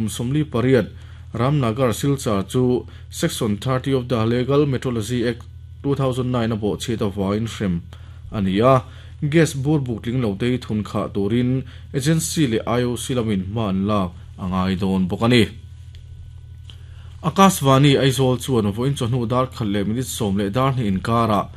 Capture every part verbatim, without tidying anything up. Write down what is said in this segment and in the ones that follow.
kum somli pariat Ramnagar Silchar chu Section thirty of the Legal Metrology Act two thousand nine a bo cheta wain hrem ania gas bur bukling lo te thun kha turin agency le I O C lamin man lak angai don bokani Akashvani Aizawl chuan voin chawhnu dar khat leh minute sawm leh dar hnih inkara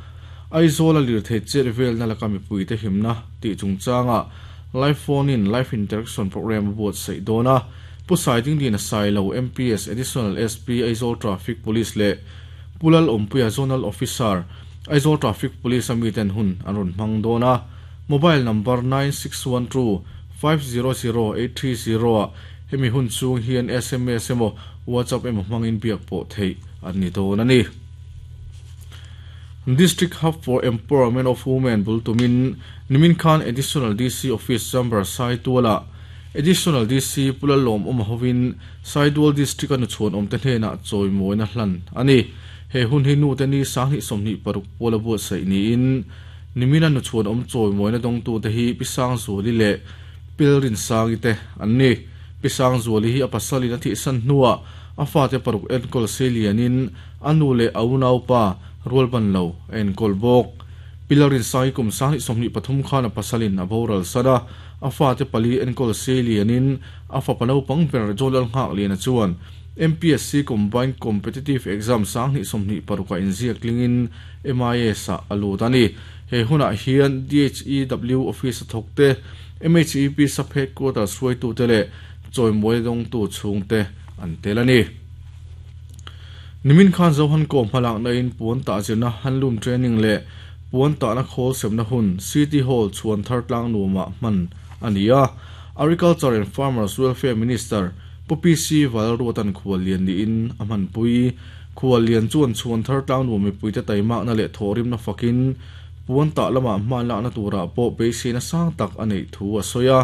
Aizawl a lir thei chet vel na laka mipui te himna tih chungchanga live phone in live interaction program buat sei dona Pusai ding din Sailo M P S Additional S P Aizawl Traffic Police le Pulal Ompuia Zonal Officer Aizawl Traffic Police ami ten hun an rawn hmang dona mobile number nine six one two five zero zero eight three zero hemi hun chung hian S M S emaw WhatsApp emaw hmangin biak pawh theih an ni dawn ani. District Hub for Empowerment of Women bultumin Nimin Khan Additional D C Office Chamber Saituala Additional D C Pulalom Omhovin Saitual District anu chuan awm te hnenah chawimawina hlan ani he hun hi nu te ni sanghnih sawmhnih paruk pawla buat saih niin Nimin anu chuan awm chawimawina dawngtu te hi Pisang Zuali leh Pilrin Sangi te an ni. Pisang Zuali hi a pasalin a thihsan hnuah a fa te paruk enkawl selianin anu leh a unaupa rualban lo a enkawl bawk. Pilarin Sangi kum sanghnih sawmhnih pathum khan a pasalin a boral sana a fa te pali enkawl selianin a fapa naupang ber Jolal nghak lian a chuan M P S C Combined Competitive Exam sanghnih sawmhnih paruk a inziak tlingin M I S a a lut ani. He hunah hian D H E W Office a thawk te M H E P Sub Headquarters hruaitu te leh chawimawina dawngtu chhung te an tel ani. Nimin Khan Zohan ko hmalak na in puan ta zirna handloom training leh puan ta na khawl semna hun City Hall chuan thar tlang nuama hman ania. Agriculture and Farmers Welfare Minister Pu P C Valruatan khual lian ni in a hmanpui khual lian chuan chuan thar tlang nuam mipui te taima na leh thawrim na fakin puan ta lama hman la na tura pawh beisei na sang tak anei thu a sawi a.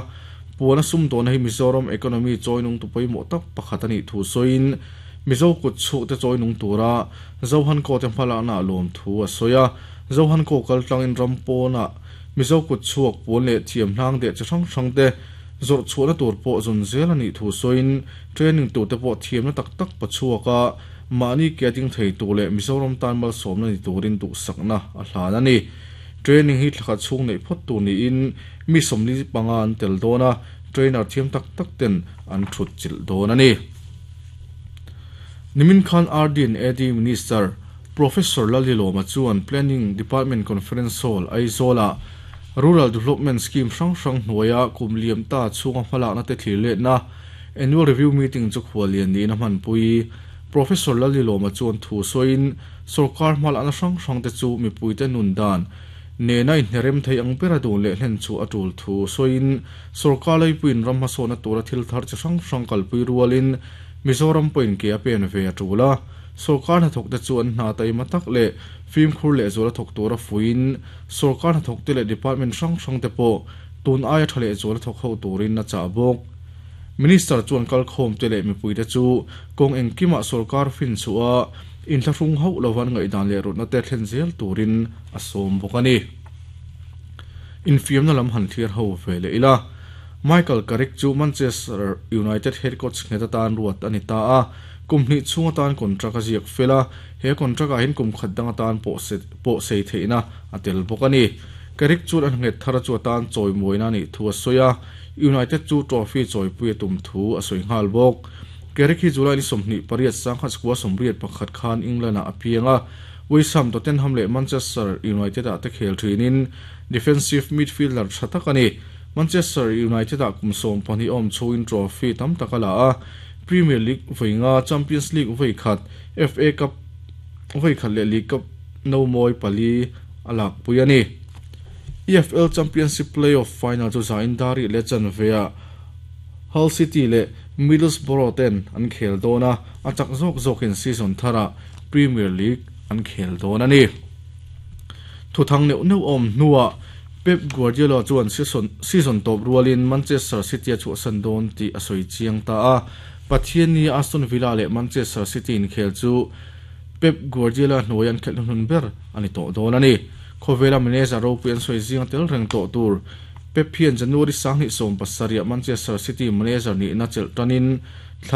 Puan a sum dawn hi Mizoram economy chawinung tu pawimawh tak pakhat ani thu sawiin Mizo kut chhuk te chawinung tura Zohan ko te hmalak na lawm thu a sawi a. Zohan ko kal tlangin ram pawna Mizo kut chhuak puan leh thiam hnang deh chi hrang hrang te zawrh chhuahna tur pawh zawn zel ani thu sawiin training tur te pawh thiamna tak tak pachhuaka mahni ke ding thei tur leh Mizoram tan malsawmna ni turin duhsakna a hlan ani. Training hi thlakhat chhung neih phawt tur niin mi sawmli panga an tel dawn a trainer thiam tak tak ten an thut chilh dawn ani. Nimin Khan R D and A D Minister Professor Laliloma chuan Planning Department Conference Hall Aizawla Rural Development Scheme hrang hrang hnuaia kum liam ta chhunga hmalakna te thlir letna Annual Review Meeting chu khual lian niin a hmanpui. Professor Laliloma chuan thu sawiin sarkar hmalakna hrang hrang te chu mipui te nun dan nena inherem thei ang bera dun leh hlen chu a tul thu sawiin sarkar leipuiin ram hmasawna tura thil thar chi hrang hrang kalpui rualin Mizoram pawhin ke a pen ve a tul a. Sarkar hnathawk te chu an hna taima tak leh fimkhur leh zuala thawk tura fuiin sarkar hnathawk te leh department hrang hrang te pawh tun aia tha leh zuala thawk ho turin a chah bawk. Minister chuan kalkhawm te leh mipui te chu kawng engkimah sarkar fin chu a inthlahrung hauh lovan ngaihdan leh rawtna te thlen zel turin a sawm bawk ani. Infiamna lam han thlir ho ve leh ila Michael Carrick chu Manchester United head coach nghet atan ruat ani ta a kum hnih chhung atan contract a ziak fela he contract ah hian kum khat dang atan pawh se pawh sei theihna a tel bawk ani. Carrick chuan an nghet thar chu atan chawimawina ni thu a sawi a United chu trophy chawipui a tum thu a sawi nghal bawk. Carrick hi July ni sawmhnih pariat sangkhat skua sawmriat pakhat khan England ah a piang a West Ham Tottenham leh Manchester United ah te khel thinin defensive midfielder tha tak ani. Manchester United ah kum sawm pahnih awm chhuin trophy tam tak a la a Premier League vawi Champions League vawi khat F A Cup vawi khat leh League Cup no mawi pali a lak pui ani. E F L Championship Playoff Final chu zain dari leh chanve a Hull City leh Middlesbrough ten an khel dawn a a chak zawk zawkin season thara Premier League an khel dawn ani. Thuthang neuh neuh awm hnuah Pep Guardiola chuan season season top rualin Manchester City a chhuahsan dawn tih a sawi chiang ta a. Pathian ni Aston Villa leh Manchester City in khel chu Pep Guardiola hnuai an khelh hnun ber ani tawh dawn ani. Khawvela manager ropui an sawi zinga tel reng tawh tur Pep hian January sanghnih sawm pasarih Manchester City manager ni na chelh tanin